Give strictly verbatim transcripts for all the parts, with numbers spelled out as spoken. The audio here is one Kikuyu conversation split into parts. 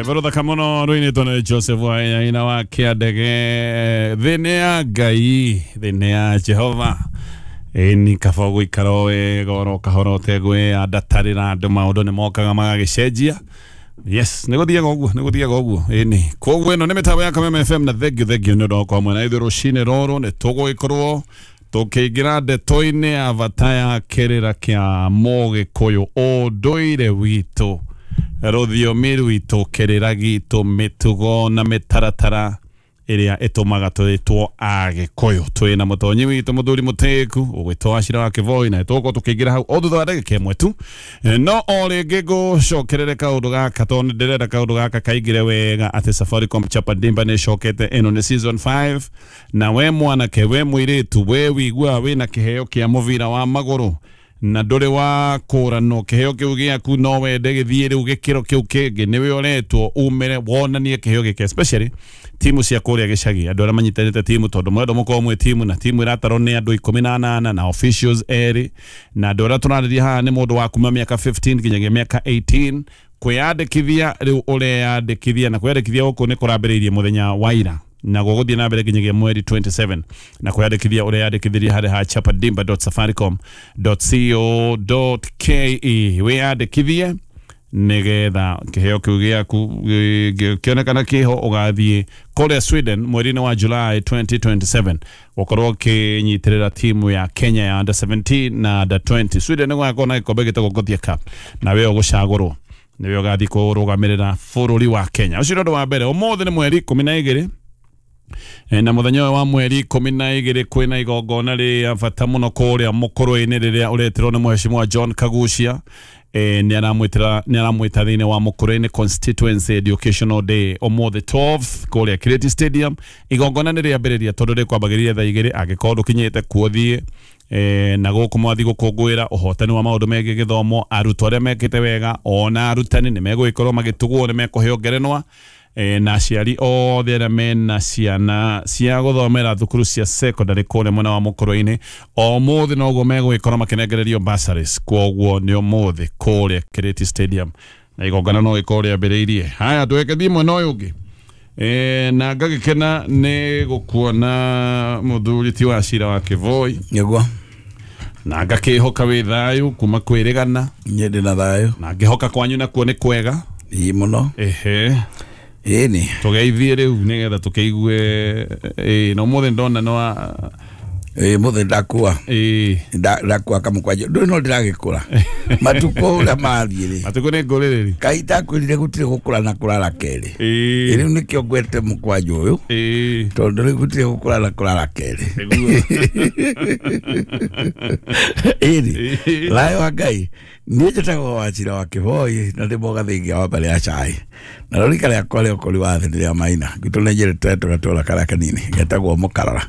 Rwĩmbo muno rũinĩtwo nĩ Joseph Wainaina wa Kĩandege. Thĩ nĩ ya Ngai, thĩ nĩ ya Jehova. Ĩni kaba gũikara o wega oro kahora ũtegwĩandatarĩra andũ, maũndũ nĩ mokaga magagĩcenjia. Yes, nĩ gũthiaga ũguo, nĩ gũthiaga ũguo. Ĩni koguo ĩno nĩ mĩtambo ya Kameme F M na thengiũ thengiũ nĩ ũndũ wa gũkorwo mwena ithuĩ rũcinĩ rũrũ. Nĩ tũgũgĩkorwo tũkĩingĩra ndeto-inĩ ya bata ya kĩrĩra kĩa Mũgĩkũyũ, ũndũire witũ, rũthiomi rwitũ, kĩrĩra gitũ, mĩtugo na mĩtaratara ĩrĩa ĩtũmaga twĩtwo Agĩkũyũ. Twĩna mũtonyi witũ mũthuri mũtĩku ũgwĩtwo Wachira wa Kĩboi, na tũgũkorwo tũkĩingĩra hau o thutha wa ndagĩka ĩmwe tu. No o rĩngĩ ngũcokerere kaũndũ gaka tondũ nĩ ndĩrenda kaũndũ gaka kaingĩre wega, atĩ Safaricom Chapa Dimba nĩ ĩcokete. Ĩno nĩ season five, na we mwanake, we mũirĩtu, we wĩiguaga wĩna kĩheo kĩa mũbira wa magũrũ na ndũrĩ wa kũranwo kĩheo kĩu gĩaku, no wende gĩthiĩ rĩu gĩkĩro kĩu kĩngĩ, nĩwe ũretwo umĩre wonanie kĩheo gĩkĩ, especially timu cia kũrĩa gĩcagi, andũ arĩa manyitanĩte timu, tondũ mwendwo mũkorwo mwĩ timu, na timu ĩratarwo nĩ andũ ikũmi na anana na officials erĩ, na andũ arĩa tũrarĩria haha nĩ mũndũ wa kuma mĩaka fifteen nginyagia mĩaka eighteen. Kwĩyandĩkithia rĩu ũreyandĩkithia, na kwĩyandĩkithia gũkũ nĩ kũrambĩrĩirie mũthenya wa ira na gũgũthiĩ na mbere nginyagia mweri twenty-seven, na kwĩyandĩkithia ũreyandĩkithirie harĩ ha chapadimba dot safaricom dot co dot ke. Wĩyandĩkithie nĩgetha kĩheo kĩu gĩaku kĩonekana kĩho, ũgathiĩ kũrĩa Sweden mweri-inĩ wa July twenty twenty-seven gũkorwo ũkĩnyitĩrĩra timu ya Kenya ya under seventeen na under twenty. Sweden nĩ gũgakorwo na gĩkombe gĩtagwo Gothia Cup, na we ũgũcagũrwo nĩwe ũgathiĩ kũrũgamĩrĩra bũrũri wa Kenya. Ũcio nĩ ũndũ wa mbere. Ũmũthĩ nĩ mweri ikũmi na igĩrĩ, na mũthenya ũyũ wa mweri ikũmi na igĩrĩ kwĩna igongona rĩa bata mũno kũrĩa Mũkũrwe-inĩ rĩrĩa ũretirwo nĩ Mheshimiwa John Kagucia. Eh, nĩ aramwĩtĩra nĩ aramwĩta thĩinĩ wa Mũkũrwe-inĩ Constituency Educational Day ũmũthĩ twelfth kũrĩa Kireti Stadium. Igongona nĩ rĩambĩrĩria tondũ rĩkwambagĩrĩria thaa igĩrĩ, angĩkorwo ndũkinyĩte kuo thiĩ. Eh, na gũkũ mwathi gũkũngũĩra ũhotani wa maũndũ megiĩ gĩthomo, arutwo arĩa mekĩte wega ona arutani nĩ megũgĩkorwo magĩtugwo, nĩ mekũheo ngerenwa. E, na aciari othe arĩa mena ciana cia gũthomera thukuru cia secondary kũrĩa mwena wa Mũkũrwe-inĩ ũmũthĩ noguo megũgĩkorwo makĩnengererio bursaries. Kwoguo nĩ ũmũthĩ kũrĩa Kireti Stadium, na igongona no gĩkorwo rĩambĩrĩirie. Haya, tũgĩthiĩ mwena ũyũ ũngĩ. E, na ngagĩkena nĩ gũkuona mũthuri ti Wachira wa Kĩboi. Nĩguo. Na ngakĩhoka wĩ thayũ kuma kwĩrĩgana. Niĩ ndĩ na thayũ. Na ngĩhoka kwanyu nakuo nĩ kwega. Ĩĩ mũno. Ehe. Ĩni. Tũgeithie rĩu nĩgetha tũkĩigue. Ĩĩ, na ũmũthĩ ndona no ĩĩ mũthĩ ndakua. Ĩĩ. Ndakua kamũkwanjũ. Ndũĩ no ndĩragĩkũra. Matukũ ũrĩa mathiĩ rĩ. Matukũ nĩ ngũrĩrĩri. Kaĩ ndakwĩrire gũtirĩ gũkũra na kũrara kerĩ. Ĩĩ. Rĩu nĩkĩo ngwete mũkwanjũ ũyũ. Ĩĩ. Tondũ rĩu gũtirĩ gũkũra na kũrara kerĩ. Nĩguo. Ĩni. Thayũ wa Ngai. Niĩ njĩtagwo Wachira wa Kĩboi na ndĩ mũgathĩngia wa mbere ya cai. Na rũrika rĩakwa rĩa ũkũri wa thĩ nĩ rĩa Maina. Gwitũ nĩ njĩrĩte tũgatũra karĩa kanini getagwo Mũkarara.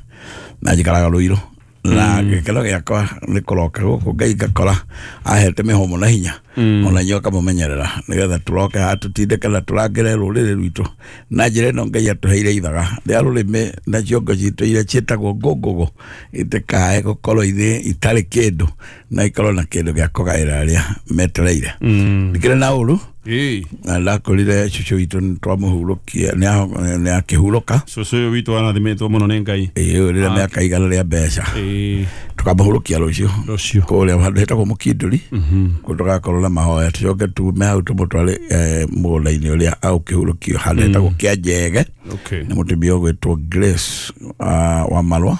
Na njikaraga Rũirũ. Na gĩkeno gĩakwa nĩ kũroka gũkũ Ngai ngakora ahete mĩhũmũ na hinya, ona inyuĩ akamũmenyerera nĩgetha tũroke haha tũtindĩke na tũrangĩre rũrĩrĩ rwitũ na njĩra ĩno Ngai atũheire ithaga rĩa rũrĩmĩ na ciongo citũ iria ciĩtagwo ngũngũgũ itikae gũkorwo irĩ itarĩ kĩndũ na ikorwo na kĩndũ gĩa kũgaĩra arĩa metereire. Ndikĩrĩ na ũru. Ĩĩ. Na ndakorire cũcũ witũ nĩ twamũhurũkia, nĩ akĩhurũka. Cũcũ ũyũ witũ arathimĩtwo mũno nĩ Ngai. Ĩĩ, rĩrĩa mĩaka igana rĩa mbeca. Ĩĩ. Tũkamũhurũkia rũciũ. Rũciũ. Kũrĩa handũ hetagwo Mũkindũri. Kũu tũgakorwo na mahoya, tũcoke tume hau tũmũtware mũgũnda-inĩ ũrĩa agũkĩhurũkio handũ hetagwo Kĩanjege. Okay. Nĩ mũtumia ũgwĩtwo Grace wa Marwa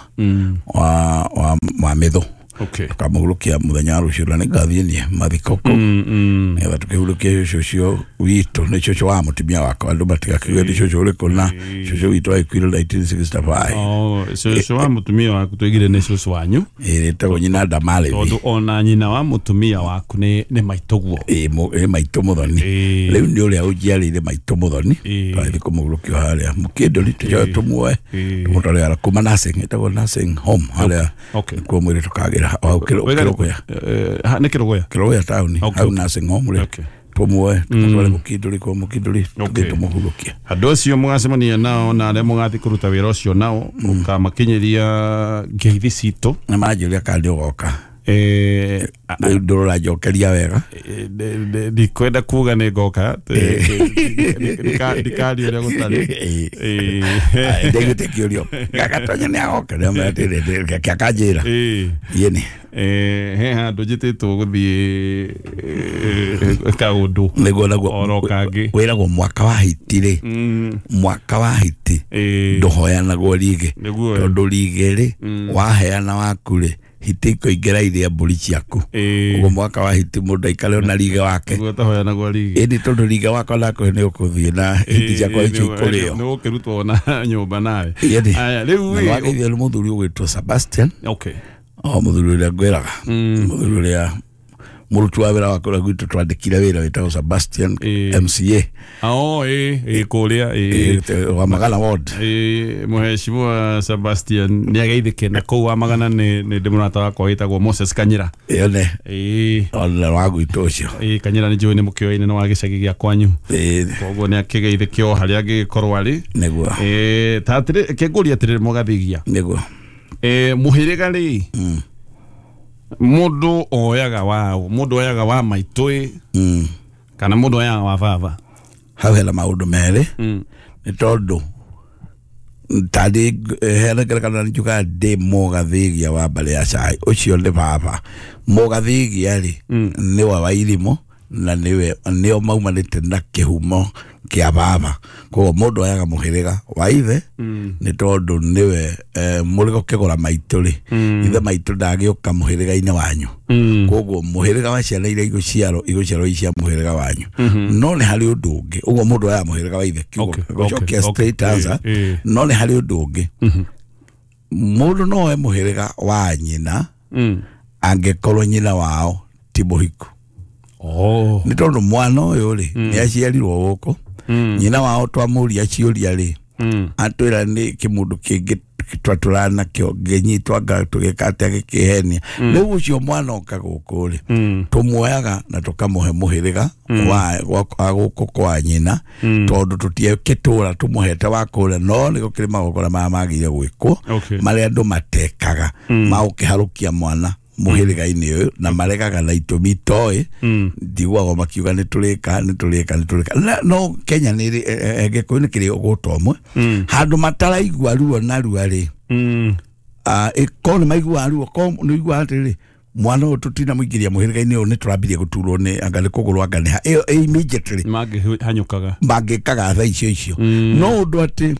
wa wa wa Mĩthũ. Okay. Tukamũhurũkia mũthenya wa rũciũ na nĩngathiĩ niĩ mathiko kũu. Nĩgetha tũkĩhurũkie cũcũ ũcio witũ, nĩ cũcũ wa mũtumia wakwa, andũ matigakĩuge nĩ cũcũ ũrĩkũ, na cũcũ witũ agĩkuire nineteen sixty-five. Oh, cũcũ wa mũtumia waku tũigire nĩ cũcũ wanyu. Ĩĩ, ĩtagwo nyina Ndamarithi. Tondũ ona nyina wa mũtumia waku nĩ nĩ maitũguo. Ĩĩ, ĩ maitũ mũthoni. Rĩu nĩ ũrĩa ũnjiarĩire maitũ mũthoni. Twathiĩ kũmũhurũkia harĩa Mũkindũri, tũcoke tũmuoe tũmũtware kuma nursing, ĩtagwo nursing home harĩa kuo mwĩrĩ tũkagĩra hau Kĩrũgũya. Nĩ Kĩrũgũya? Kĩrũgũya taũni, hau nursing home rĩ. Tũmuoe tũmũtware Mũkindũri, kwa Mũkindũri tũthiĩ tũmũhurũkie. Andũ acio mũgacemania nao na arĩa mũgathiĩ kũruta wĩra ũcio nao, ũkamakinyĩria ngeithi citũ. Na manjũria kana nĩ ũgoka. Eh rĩu ndũrũranjokeria wega. Ndikwenda kuga nĩ ngoka ndikaria ũrĩa gũtarĩ. Ndaiguĩte kĩũrio gagatonya nĩ agoka kĩakanjĩra yĩni he handũ njĩtĩtwo gũthiĩ kaũndũ nĩguo naguo oro kangĩ wĩragwo mwaka wa hiti rĩ mwaka wa hiti ndũhoyanagwo rige tondũ rige rĩ waheana waku rĩ hiti ikoingĩra iria mbũri ciaku ũguo mwaka wa hiti mũndũ aikare ona rige wake nĩguo ũtahoyanagwo rige ĩndĩ tondũ rige wakwa nakũhe nĩ ũkũthiĩ na hiti ciakwa icio ikũrĩo nĩ ũkĩrutwo na nyũmba nawe. Aya rĩu wageithio nĩ mũthuri ũgwĩtwo Sebastian. Okay. O mũthuri ũrĩa ngwĩraga mũthuri ũrĩa mũruti wa wĩra wa kũrĩa gwitũ twandĩkire wĩra wĩtagwo Sebastian M C A. Oh ĩ ĩ kũrĩa ĩ wa Magana ward. Ĩ mũheshimiwa Sebastian nĩ ageithĩke na kũu wa Magana nĩ nĩ ndĩ mũrata wakwa wĩtagwo Moses Kanyira. Ĩyo ĩ ona wa gwitũ ũcio. Ĩ Kanyira nĩ njũĩ nĩ mũkĩoine nĩ wa gĩcagi gĩa kwanyu. Ĩ koguo nĩ akĩgeithĩke o harĩa angĩgĩkorwo arĩ. Nĩguo. Ĩ ta atĩrĩ kĩngũria atĩrĩrĩ mũgathigia. Nĩguo. Ĩ mũhĩrĩga rĩ mundu oyaga wa mundu oyaga wa maitũ mm. kana mundu oyaga wa baba hau hena maundu merĩ mm. nĩ tondũ tandĩ hena ngerekano njugaga ndĩ mũgathigia wa mbarĩ ya cai ũcio nĩ baba mũgathigia rĩ nĩwe wa irimũ na nĩwe nĩo maumanĩte na kĩhumo kĩa baba koguo mũndũ oyaga mũhĩrĩga wa ithe nĩ tondũ nĩwe mũrĩgo kĩgũra maitũ rĩ ithe maitũ ndagĩũka mũhĩrĩga-inĩ wanyu koguo mũhĩrĩga wa ciana iria igũciarwo igũciarwo i cia mũhĩrĩga wanyu no nĩ harĩ ũndũ ũngĩ ũguo mũndũ oyaga mũhĩrĩga wa ithe gũcokia straight answer no nĩ harĩ ũndũ ũngĩ mũndũ no oe mũhĩrĩga wa nyina angĩkorwo nyina wao ti mũhiku. Oh. Nĩ tondũ mwana ũyũ rĩ nĩ aciarirwo gũkũ nyina wao twamũria ciũria rĩ atwĩra nĩ kĩmũndũ kĩngĩ twatũrana nakĩo ngĩnyitwo anga tũgĩka atĩa gĩkĩhenia rĩu ũcio mwana oka gũkũ rĩ tũmuoyaga na tũkamũhe mũhĩrĩga wa gũkũ kwa nyina tondũ tũtiekĩtũra tũmũhete wa kũrĩa no nĩ gũkĩrĩ magongona maya magĩrĩire gwĩkwo marĩa andũ matekaga ma gũkĩharũkia mwana muhĩrĩga-inĩ ũyũ na maregaga na itũmi itoĩ ndiguaga makiuga nĩ tũrĩka nĩ tũrĩka nĩ tũrĩka no Kenya nĩ Gĩkũyũ nĩ kĩrĩ ũgũta ũmwe handũ mataraigua ruo narua rĩ ĩkorwo nĩ maiguaga ruo korwo nĩ ũiguaga atĩrĩrĩ mwana ũyũ tũtinamũingĩria mũhĩrĩga-inĩ ũyũ nĩ tũrambirie gũturwo nĩ anga nĩ kũgũrũ anga nĩ ha ĩyo immediately mangĩhanyũkaga mangĩkaga thaa icio icio no ũndũ atĩ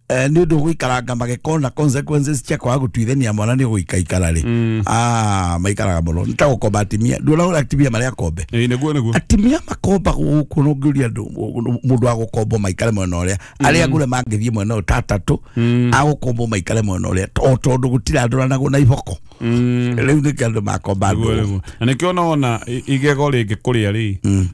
nĩ ũndũ gũikaranga magĩkona consequences cia kwaga gũtuithania mwana nĩ gũikaikara rĩ ah maikaraga mũno nĩ ta gũkomba atimia nduona ũrĩa atimia marĩa akombe nĩguo nĩguo atimia makomba gũkũ no ngĩũria andũ mũndũ wa gũkombo maikare mwena ũrĩa arĩa ngũre mangĩthiĩ mwena ũyũ ta atatũ agũkombo maikare mwena ũrĩa o tondũ gũtirĩ andũranagwo na iboko rĩu nĩkĩo andũ makomba andũ na nĩkĩo nona igego rĩngĩ kũrĩa rĩ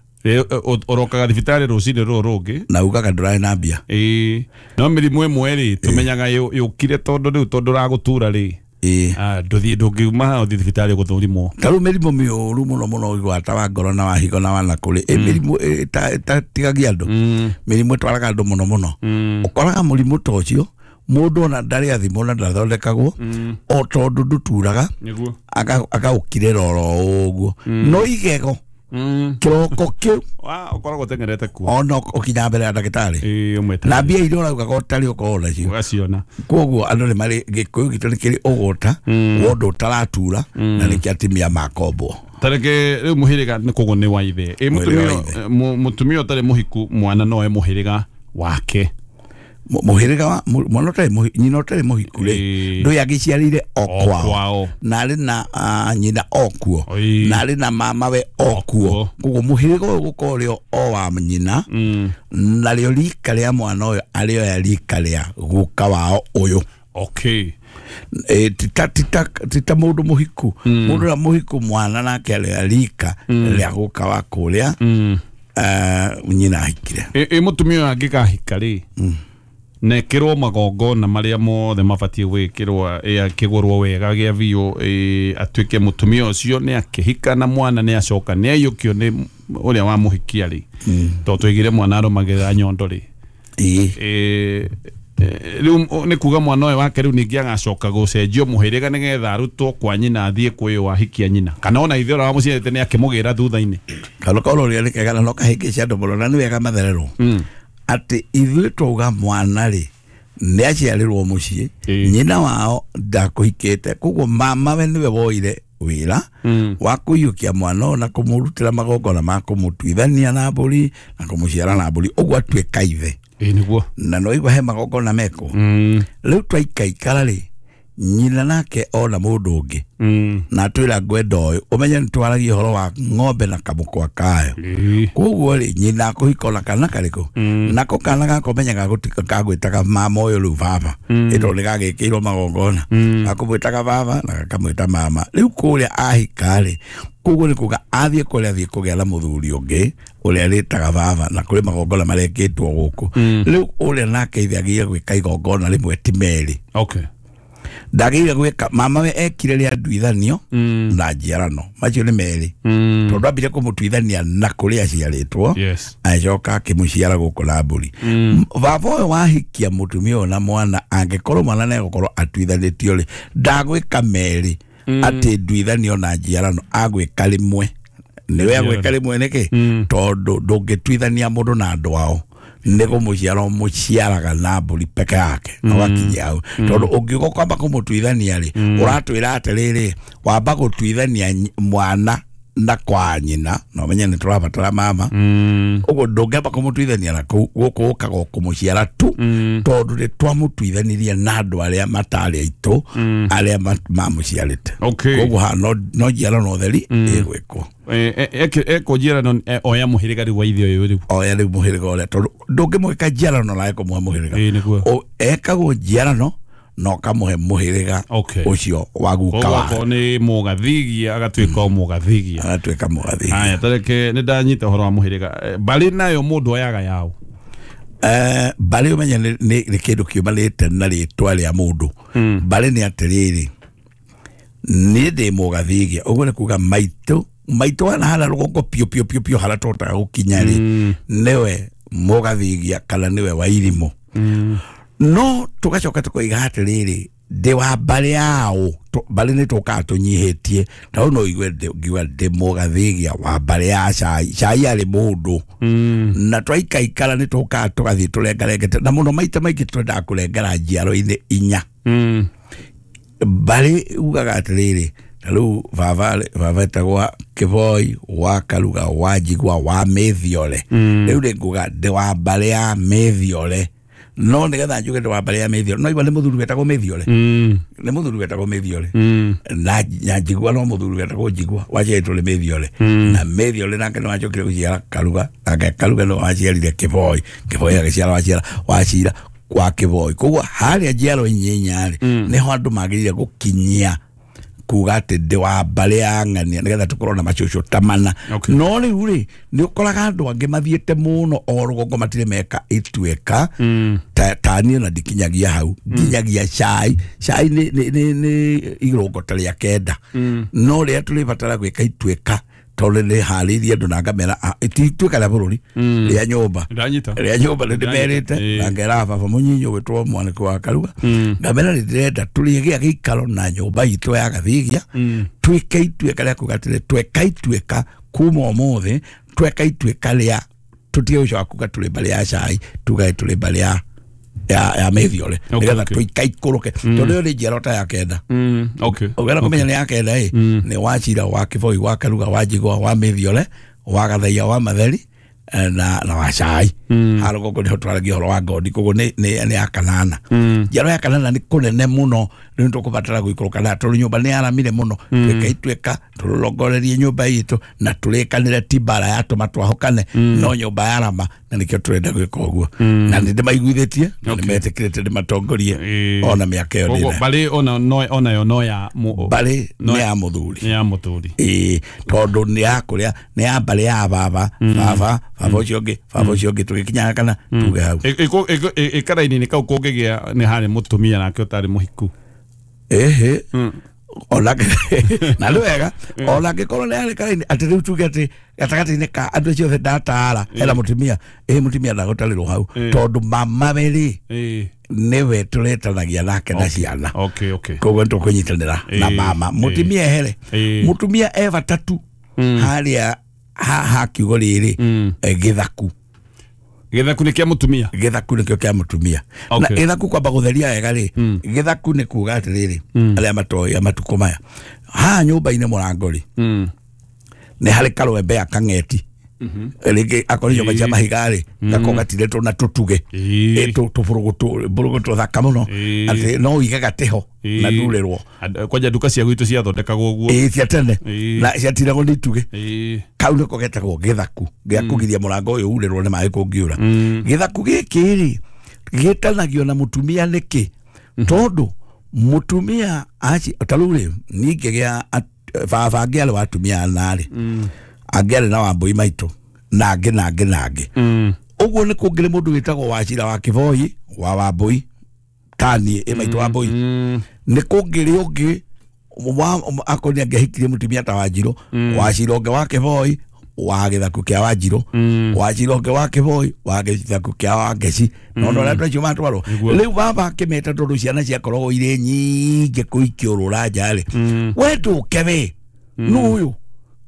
orokaga thibitarĩ rũcinĩ rũrũ rũngĩ na ugaga ndũrarĩ na mbia ĩĩ no mĩrimũ ĩmwe rĩ tũmenyaga yũkire tondũ rĩu tondũ ũragũtura rĩ ndũthiĩ ndũngiuma haha ũthiĩ thibitarĩ gũthũrimwo ta rĩu mĩrimũ mĩũru mũno mũno ũiguaga ta wa ngoro na wa higo na wa nakũrĩ ĩ mĩrimũ ĩtatigagia andũ mĩrimũ ĩtwaraga andũ mũno mũno ũkoraga mũrimũ ta ũcio mũndũ ona ndarĩ athimwo na ndathondekagwo o tondũ ndũturaga agaũkirĩra oro ũguo no igego kĩroko kĩu ũkoragwo ũteng'erete kuo ona ũkinya mbere ya ndagĩtarĩ na mbia iria ũraugaga ũtarĩ ũkorwo nacio ũgaciona koguo andũ nĩ marĩ Gĩkũyũ gitũ nĩ kĩrĩ ũgũta wa ũndũ ũtaratura na nĩkĩo atimia makombwo tareke rĩu mũhĩrĩga nĩ koguo nĩ wa ithe ĩ mũtumia ũtarĩ mũhiku mwana no e mũhĩrĩga wake mũhĩrĩga wa mwana ũtarĩ nyina ũtarĩ mũhiku rĩ ndũĩ angĩciarĩire o kwao na arĩ na nyina o kuo na arĩ na mamawe o kuo koguo mũhĩrĩga ũyũ gũkorwo ũrĩ o wa nyina narĩo rika rĩa mwana ũyũ arĩoya rika rĩa guka wao ũyũ. Okay. Tita tita tita mũndũ mũhiku mũndũ ũrĩa mũhiku mwana nake arĩoya rika rĩa guka wa kũrĩa nyina ahikire. Ĩ mũtumia ũyũ angĩkahika rĩ nekirwo magongona maria mothe mabatie gwikirwo akigurwo wega gia biũ atuike mutumia ucio ni akihika na mwana ni acoka ni aiyukio ni uria wa muhikia ri to twigire mwana arumagirira nyondo ri eh Rĩu nĩ kuga mwana ũyũ wake rĩu ningĩ agacoka gũcenjio mũhĩrĩga nĩgetha arutwo kwa nyina athiĩ kwĩ wahikia nyina kana ona ithe ũrĩa wamũciarĩte nĩ akĩmũgĩra thutha-inĩ. Kano kaũrĩa nĩ kega na no kahĩngĩce andũ mũno na nĩ wega mathererwo atĩ ithuĩ twauga mwana rĩ nĩ aciarĩrwo mũciĩ, nyina wao ndakũhikĩte, koguo mamawe nĩwe woire wĩra wa kũiyũkia mwana ũyũ na kũmũrutĩra magongona ma kũmũtuithania na mbũri na kũmũciara na mbũri, ũguo atuĩka ithe. Ĩĩ nĩguo. Na no igua he magongona mekwo. Rĩu twaikaikara rĩ, nyina nake ona mũndũ ũngĩ na atwĩra ngwenda ũyũ, ũmenye nĩ twaragia ũhoro wa ng'ombe na kamũkwa kayo. Koguo rĩ, nyina akũhika ona kana karĩkũ, nako kana gaka ũmenye gagwĩtaga mama ũyũ rĩu baba, ĩtondũ nĩ gagĩkĩirwo magongona, gakũmwĩtaga baba na gakamwĩta mama. Rĩu kũrĩa ahika rĩ, koguo nĩ kuga athiĩ kũrĩa athiĩ kũgĩa na mũthuri ũngĩ ũrĩa rĩtaga baba, na kũrĩ magongona marekĩtwo gũkũ. Rĩu ũrĩa nake ithe agĩrĩire gwĩka igongona rĩmwe ti merĩ. Okay. Ndagĩrĩire gwĩka mama we ekire rĩa nduithanio na njiarano, macio nĩ merĩ, tondũ ambire kũmũtuithania na kũrĩa aciarĩtwo, agĩcoka akĩmũciara gũkũ na mbũri. Baba ũyũ wahikia mũtumia ũyũ na mwana, angĩkorwo mwana nĩegũkorwo atuithanĩtio rĩ, ndagwĩka merĩ atĩ nduithanio na njiarano, agwĩka rĩmwe. Nĩwe agwĩka rĩmwe nĩkĩ? Tondũ ndũngĩtuithania mũndũ na andũ ao, nĩ kũmũciara ũmũciaraga na mbũri peke yake na ũgakinyia hau. Tondũ ũngiuga kwamba kũmũtuithania rĩ, ũratwĩra atĩrĩrĩ, wamba gũtuithania mwana na kwa nyina, na ũmenye nĩ tũrabatara mama, ũguo ndũngĩamba kũmũtuithania na kũu, gũkũ ũkaga kũmũciara tu, tondũ nĩ twamũtuithanirie na andũ arĩa matarĩ aitũ, arĩa mamũciarĩte. Koguo haha no njiarano theri ĩgwĩkwo. Eko njiarano oya mũhĩrĩga rĩu wa ithe ũyũ rĩu. Oya rĩu mũhĩrĩga ũrĩa, tondũ ndũngĩmwĩka njiarano na ekũmũhe mũhĩrĩga. Ekagwo njiarano na ũkamũhe mũhĩrĩga ũcio wa guka wake. Koguo nĩ mũgathigia agatuĩka o mũgathigia. Agatuĩka mũgathigia. Haya, tareke nĩ ndanyita ũhoro wa mũhĩrĩga. Mbarĩ nayo mũndũ oyaga yaũ? Mbarĩ ũmenye nĩ kĩndũ kiumanĩte na rĩtwa rĩa mũndũ. Mbarĩ nĩ atĩrĩrĩ, niĩ ndĩ mũgathigia, ũguo nĩ kuga maitũ maitũ hana hana rũgongo piũ piũ piũ piũ harĩa tũhotaga gũkinya rĩ, nĩwe mũgathigia kana nĩwe wa irimũ. No tũgacoka tũkoiga atĩrĩrĩ, ndĩ wa mbarĩ yao, mbarĩ nĩ tũkaga tũnyihĩtie, ta rĩu no ũigue ngiuga ndĩ mũgathigia wa mbarĩ ya Cai, Cai arĩ mũndũ. Na twaikaikara nĩ tũkaga tũgathiĩ tũrengarengete, na mũno maita maingĩ twendaga kũrengera njiaro-inĩ inya. Mbarĩ ugaga atĩrĩrĩ, ta rĩu baba baba etagwo Kĩboi wa Karuga wa Njigua wa Mĩthiore. Rĩu rĩ nguga ndĩ wa mbarĩ ya Mĩthiore, no nĩgetha njuge ndĩ wa mbarĩ ya Mĩthiore, no igua nĩ mũthuri wetagwo Mĩthiore, nĩ mũthuri wetagwo Mĩthiore, na Njigua no mũthuri wetagwo Njigua waciarĩtwo nĩ Mĩthiore, na Mĩthiore nake nĩ wacokire gũciara Karuga, nake Karuga nĩ waciarire Kĩboi, Kĩboi agĩciara waciara wacira kwa Kĩboi. Koguo harĩa njiaro inya rĩ, nĩho andũ magĩrĩire gũkinyia kuga atĩ ndĩ wa mbarĩ ya ng'ania, nĩgetha tũkorwo na macũcũ ta mana. No rĩu rĩ, nĩ ũkoraga andũ angĩ mathiĩte mũno o rũgongo matirĩ meka ituĩka, ta niĩ ona ndikinyagia hau, nginyagia Cai. Cai nĩ nĩ irũngo ta rĩa kenda, no rĩrĩa tũrĩbatara gwĩka ituĩka, tondũ nĩ harĩirie andũ na ngamera, ti ituĩka rĩa bũrũri, rĩa nyũmba, rĩa nyũmba nĩ ndĩmerĩte, na ngera baba mũnyinyi ũgwĩtwo Mwanĩkũ wa Karuga, ngamera nĩ ndĩrenda tũrĩgĩa gĩikaro na nyũmba itũ ya Gathigia, twĩke ituĩka rĩa kuga atĩrĩ, tweka ituĩka kuma ũmũthĩ, tweka ituĩka rĩa tũtige gũcoka kuga tũrĩ mbarĩ ya Cai, tugage tũrĩ mbarĩ ya ya ya Mĩthiore, nĩgetha tũikaikũrũke, tondũ ĩyo nĩ njiaro ta ya kenda. Ũngĩenda kũmenya nĩ ya kenda ĩ, nĩ wa Cira wa Kĩboi wa Karuga wa Njigua wa Mĩthiore wa Gathaiya wa Matheri na na wa Cai. Haha rũgongo nĩho twaragia ũhoro wa ngondi, koguo nĩ nĩ ya kanana. Njiaro ya kanana nĩ kũnene mũno, rĩu nĩ tũkũbatara gũikũrũka na tondũ nyũmba nĩ yaramire mũno, twĩke ituĩka tũrongorerie nyũmba itũ na tũrĩkanĩre ti mbara yatũma twahũkane, no nyũmba yarama, na nĩkĩo tũrenda gwĩka ũguo. Na nĩ ndĩmaiguithĩtie na nĩ metĩkĩrĩte ndĩmatongorie ona mĩaka ĩyo ndĩnayo. Mbarĩ ona onayo no ya mbarĩ nĩ ya mũthuri, nĩ ya mũthuri, ĩĩ, tondũ nĩ ya kũrĩa, nĩ ya mbarĩ ya baba, baba baba ũcio ũngĩ, baba ũcio ũngĩ, tũgĩkinyaga kana tuge hau. Ĩkaraini-inĩ kau kũngĩgĩa nĩ harĩ mũtumia nake ũtarĩ mũhiku. Ĩhĩ, Ona na nĩ wega ona angĩkorwo nĩ harĩ karaini atĩ rĩu tuge atĩ gatagatĩ-inĩ ka andũ acio othe ndatara hena mũtumia ĩ mũtumia ndagũtarĩrwo hau tondũ mama we rĩ nĩwe tũretanagia nake na ciana. Okay, okay. Koguo nĩtũkũnyitanĩra na mama mũtumia ehere mũtumia e bata tu harĩa ha kiugo rĩrĩ gĩthaku. Gĩthaku nĩ kĩa mũtumia. Gĩthaku nĩkĩo kĩa mũtumia. Na gĩthaku kwamba gũtheria wega rĩ, gĩthaku nĩ kuga atĩrĩrĩ arĩa matoĩ a matukũ maya haha nyũmba-inĩ mũrango rĩ nĩ harĩ karwembe ya kang'eti rĩngĩ akorwo nyũmba cia mahiga rĩ gako gatirĩtwo na tũtuge tũbũrũgũtũ thaka mũno atĩ no ũige gatĩ ho na ndurĩrwo. Kwanja nduka cia gwitũ ciathondekagwo ũguo. Ĩĩ cia tene na ciatiragwo nĩ itugĩ. Kau nĩko getagwo gĩthaku gĩa kũgiria mũrango ũyũ urĩrwo nĩ maĩ kũngiura. Gĩthaku gĩkĩ rĩ gĩtanagio na mũtumia nĩkĩ? Tondũ mũtumia aci ta rĩu rĩ niĩ ngĩgĩa baba angĩarĩ wa atumia ana rĩ angĩarĩ na Wambũi maitũ na angĩ na angĩ na angĩ. Ũguo nĩ kũngĩrĩ mũndũ wĩtagwo Wachira wa Kĩboi wa Wambũi tani ĩ maitũ Wambũi nĩ kũngĩrĩ ũngĩ akorwo nĩ angĩahikirie mũtumia ta Wanjirũ Wachira ũngĩ wa Kĩboi wa gĩthaku kĩa Wanjirũ Wachira ũngĩ wa Kĩboi wa gĩthaku kĩa Wangeci no no andũ acio matwarwo rĩu baba akĩmeta tondũ ciana ciakoragwo irĩ nyingĩ kũu ikĩũrũra nja rĩ we ndũke we nũ ũyũ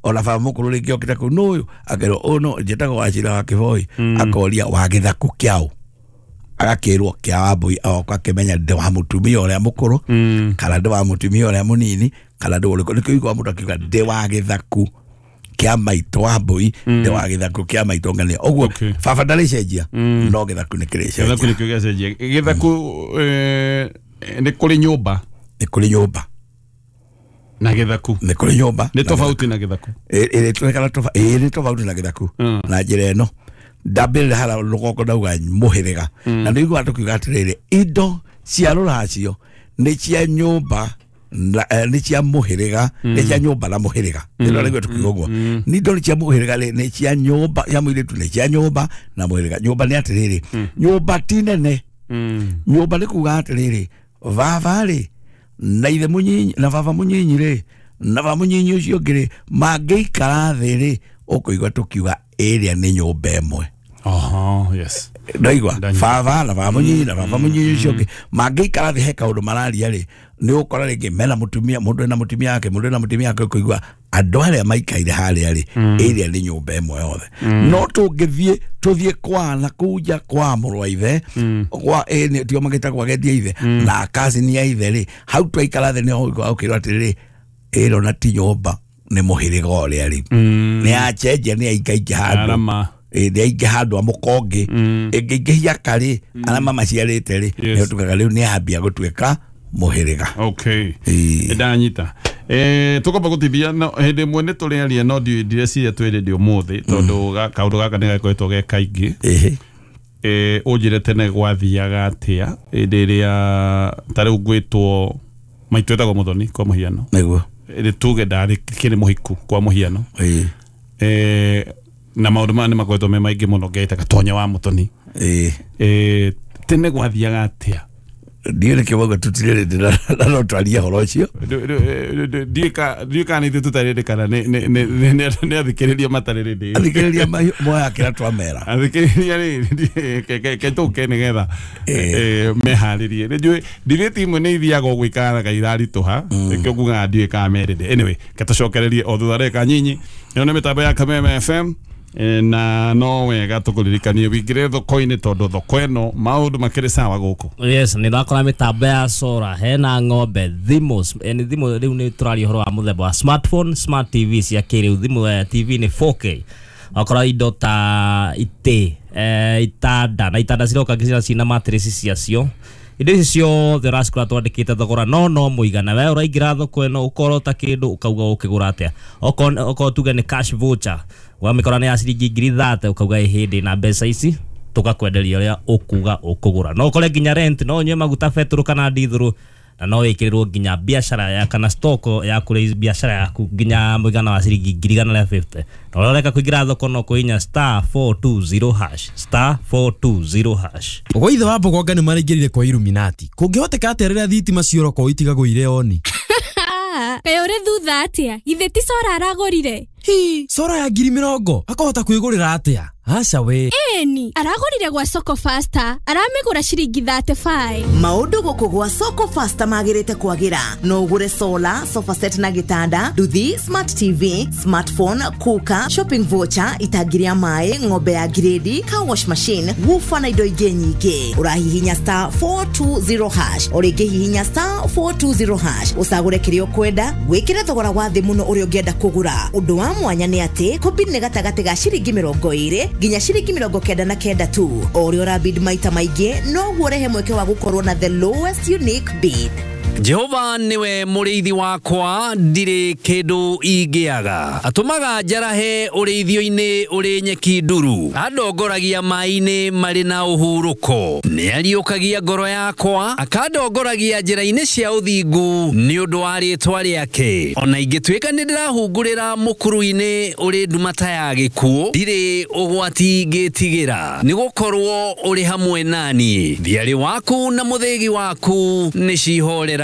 ona baba mũkũrũ rĩngĩ okĩte kũu nũ ũyũ akerwo ũyũ no njĩtagwo Wachira wa Kĩboi akoria wa gĩthaku kĩaũ agakĩrwo kĩa Wambũi agoka akĩmenya ndĩ wa mũtumia ũrĩa mũkũrũ kana ndĩ wa mũtumia ũrĩa mũnini kana ndĩ ũrĩkũ nĩkĩo ũiguaga mũndũ akiuga ndĩ wa gĩthaku kĩa maitũ Wambũi ndĩ wa gĩthaku kĩa maitũ ng'ania. Ũguo baba ndarĩcenjia no gĩthaku nĩ kĩrĩcenjia. Gĩthaku nĩkĩo gĩacenjia. Gĩthaku nĩ kũrĩ nyũmba. Nĩ kũrĩ nyũmba na gĩthaku nĩ kũrĩ nyũmba nĩ tofauti na gĩthaku ĩrĩ tofauti na gĩthaku na njĩra ĩno ndambĩrĩra hara rũgongo ndauga mũhĩrĩga na nĩ ũiguaga tũkiuga atĩrĩrĩ indo cia rũracio nĩ cia nyũmba nĩ cia mũhĩrĩga nĩ cia nyũmba na mũhĩrĩga ĩno nĩguo tũkiuga ũguo nĩ indo nĩ cia mũhĩrĩga nĩ cia nyũmba ya mũirĩtu nĩ cia nyũmba na mũhĩrĩga. Nyũmba nĩ atĩrĩrĩ nyũmba ti nene nyũmba nĩ kuga atĩrĩrĩ baba rĩ na ithe mũnyinyi na baba mũnyinyi rĩ na baba mũnyinyi ũcio ũngĩ rĩ mangĩikara thĩ rĩ ũkũigua tũkiuga ĩrĩa nĩ nyũmba ĩmwe. Oho, yes. Ndaigua baba na baba mũnyinyi na baba mũnyinyi ũcio ũngĩ mangĩikara thĩ he kaũndũ mararia rĩ nĩ ũgũkora rĩngĩ mena mũtumia mũndũ ena mũtumia wake mũndũ ena mũtumia wake ũkũigua andũ arĩa maikaire harĩa rĩ ĩrĩa nĩ nyũmba ĩmwe yothe. No tũngĩthiĩ tũthiĩ kwa na kũu nja kwa mũrũ wa ithe kwa ĩ tio magĩtagwo agendi a ithe na cousin ya ithe rĩ hau twaikara thĩ nĩho ũkĩrwo atĩrĩrĩ ĩro na ti nyũmba nĩ mũhĩrĩga ũrĩa rĩ nĩ acenjia nĩ aingaingĩ handũ nĩ aingĩ handũ a mũkongĩ ĩngĩingĩhia karĩ arĩa mamaciarĩte rĩ nĩ ũtugaga rĩu nĩ ambia gũtuĩka mũhĩrĩga. Okay, ndanyita. Eh tukomba gutithia no hindi mwe ni turiaria no ndireciria twi rĩndĩ ũmũthĩ tondũ kaũndũ gaka nĩ gakoretwo ge kaingĩ. Eh ũnjĩre tene gwathiaga atĩa hĩndĩ ĩrĩa ta rĩu ngwĩtwo maitũ etagwo Mũthoni kwa mũhiano nĩguo ĩrĩ tuge ndarĩ kĩrĩ mũhiku kwa mũhiano eh na maũndũ maya nĩ makoretwo me maingĩ mũno ngeta Gatonya wa Mũthoni. Eh tene gwathiaga atĩa? Ndiũ nĩkĩo mauga tũtirĩ rĩndĩ na no twarie ũhoro ũcio. Ndiũĩ kana ithuĩ tũtarĩ rĩndĩ kana nĩ athikĩrĩria matarĩ rĩndĩ. Athikĩrĩria moya kĩrĩa twamera. Athikĩrĩria rĩ reke tũke nĩgetha meharĩrie. Nĩnjũĩ debate imwe nĩ ithiaga ũguo ikaraga iraritũha nĩkĩo ngugaga ndiũĩ kana me rĩndĩ. Anyway, reke tũcokererie o thutha ndagĩka nyinyi. Ĩno nĩ mĩtambo ya Kameme F M na no wega tukuririkanie wingire thoko-inĩ tondũ thoko ĩno maũndũ makĩrĩ sawa gũkũ. Yes, nĩ ndakora mĩtambo ya sora hena ng'ombe thimũ nĩ thimũ rĩu nĩ tũraria ũhoro wa mũthemba wa smartphone smart T V cia kĩrĩu thimũ T V nĩ four K wakora indo ta itĩ itanda na itanda ciroka cina mattress ciacio indo ici ciothe ũracikora twandĩkĩte thogora no no mũigana we ũraingĩra thoko ĩno ũkorota kĩndũ ũkauga ũkĩgũra atĩa okorwo tuge nĩ cash voucher wamĩkora nĩ ya ciringi ngiri thate ũkauga ĩ hĩndĩ na mbeca ici tũgakwenderia ũrĩa ũkuga ũkũgũra no ũkore nginya rent no ũnyue maguta betũrũ kana ndithũrũ na no wĩkĩrĩrwo nginya biacara ya kana stock ya kũrĩ biacara yaku nginya mũigana wa ciringi ngiri igana rĩa fifty na ũrĩa ũreka kũingĩra thoko no kũhihinya star four two zero hash star four two zero hash. Ũguo ithe wa Mbogonga nĩ maraingĩrire kwa Illuminati kũngĩhoteka atĩa rĩrĩa thitima ciora kwa itigagwo irĩ oni? Kaĩ ũrĩ thutha atĩa? Githĩ ti Sora aragũrire? Hi, Sora ya ngiri mĩrongo akahota kwĩgũrĩra atĩa? Aca we. Ĩni, aragũrire gwa Soko Faster, aramĩgũra ciringi thirty-five. Maũndũ gũkũ gwa Soko Faster magĩrĩte kwagĩra. No ũgũre solar, sofa set na gĩtanda, nduthi, smart T V, smartphone, cooker, shopping voucher, itangi rĩa maĩ, ng'ombe ya grade, car wash machine, woofer na indo ingĩ nyingĩ. Ũrahihinya star four two zero hash, o rĩngĩ hihinya star four two zero hash, ũcagũre kĩrĩa ũkwenda, wĩkĩre thogora wa thĩ mũno ũrĩa ũngĩenda kũgũra. Ũndũ wa mwanya nĩ atĩ kũbid nĩ gatagatĩ ga ciringi mĩrongo ĩrĩ nginya ciringi mĩrongo kenda na kenda tu. O ũrĩa ũrabid maita maingĩ noguo ũrehe mweke wa gũkorwo na the lowest unique bid. Jehova niwe mũrĩithi wakwa, ndirĩ kĩndũ ingĩaga. Atũmaga njarahe ũrĩithio-inĩ ũrĩ nyeki nduru, andongoragia maĩ-inĩ marĩ na ũhurũko. Nĩariũkagia ngoro yakwa, akandongoragia njĩra-inĩ cia ũthingu nĩ ũndũ wa rĩĩtwa rĩake. Ona ingĩtuĩka nĩndĩrahungurĩra mũkuru-inĩ ũrĩ nduma ta ya gĩkuũ, ndirĩ ũgwati ngĩtigĩra, nĩgũkorwo ũrĩ hamwe nani. Thiarĩ waku na mũthĩgi waku nĩcihorera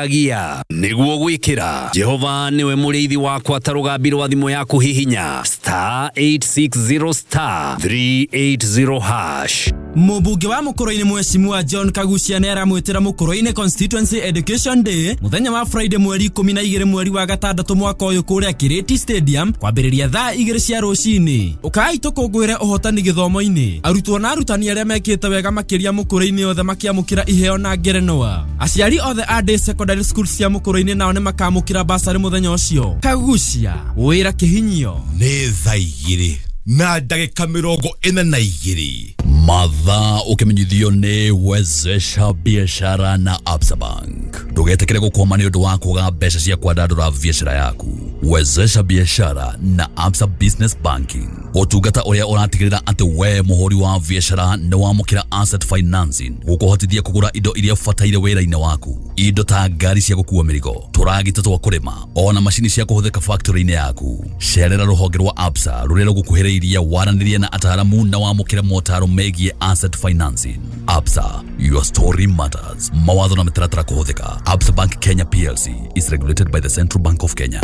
niguo gwikira. Jehova niwe mũrĩithi wakwa ta rũgambi rwa thimũ yaku hihinya star eight six zero star three eight zero hash. Mũmbunge wa Mũkũrũ-inĩ Mheshimiwa John Kagucia nĩ aramwĩtĩra Mũkũrũ-inĩ Constituency Education Day mũthenya wa Friday mweri ikũmi na igĩrĩ mweri wa gatandatũ mwaka ũyũ kũrĩa Kirĩti Stadium kwambĩrĩria thaa igĩrĩ cia rũcinĩ. Ũkai tũkũngũĩre ũhotani gĩthomo-inĩ. Arutwo na arutani arĩa mekĩte wega makĩria Mũkũrũ-inĩ othe makĩamũkĩra iheo na ngerenwa. Aciari othe a day secondary school cia Mũkũrũ-inĩ nao nĩ makamũkĩra basarĩ mũthenya ũcio. Kagucia, wĩra kĩhinyio. Nĩ thaa igĩrĩ na ndagĩka mĩrongo ĩna na igĩrĩ. Mathaa ũkĩmenyithio nĩ Wezesha Biashara na Absa Bank. Ndũgetĩkĩre gũkwama nĩ ũndũ wa kwaga mbeca cia kwandandũra biashara yaku. Wezesha Biashara na Absa Business Banking, ũtungata ũrĩa ũratigĩrĩra atĩ we mũhũri wa biashara nĩ wamũkĩra asset financing gũkũhotithia kũgũra indo iria ũbataire wĩra-inĩ waku, indo ta ngari cia gũkua mĩrigo, tũragita twa kũrĩma, ona macini cia kũhũthĩka factory-inĩ yaku. Cerera rũhonge rwa Absa rũrĩa rũgũkuhĩrĩirie, waranĩrie na ataaramu na wamũkĩre motaro megiĩ asset financing. Absa, your story matters. Mawatho na mĩtaratara kũhũthĩka. Absa Bank Kenya P L C is regulated by the Central Bank of Kenya.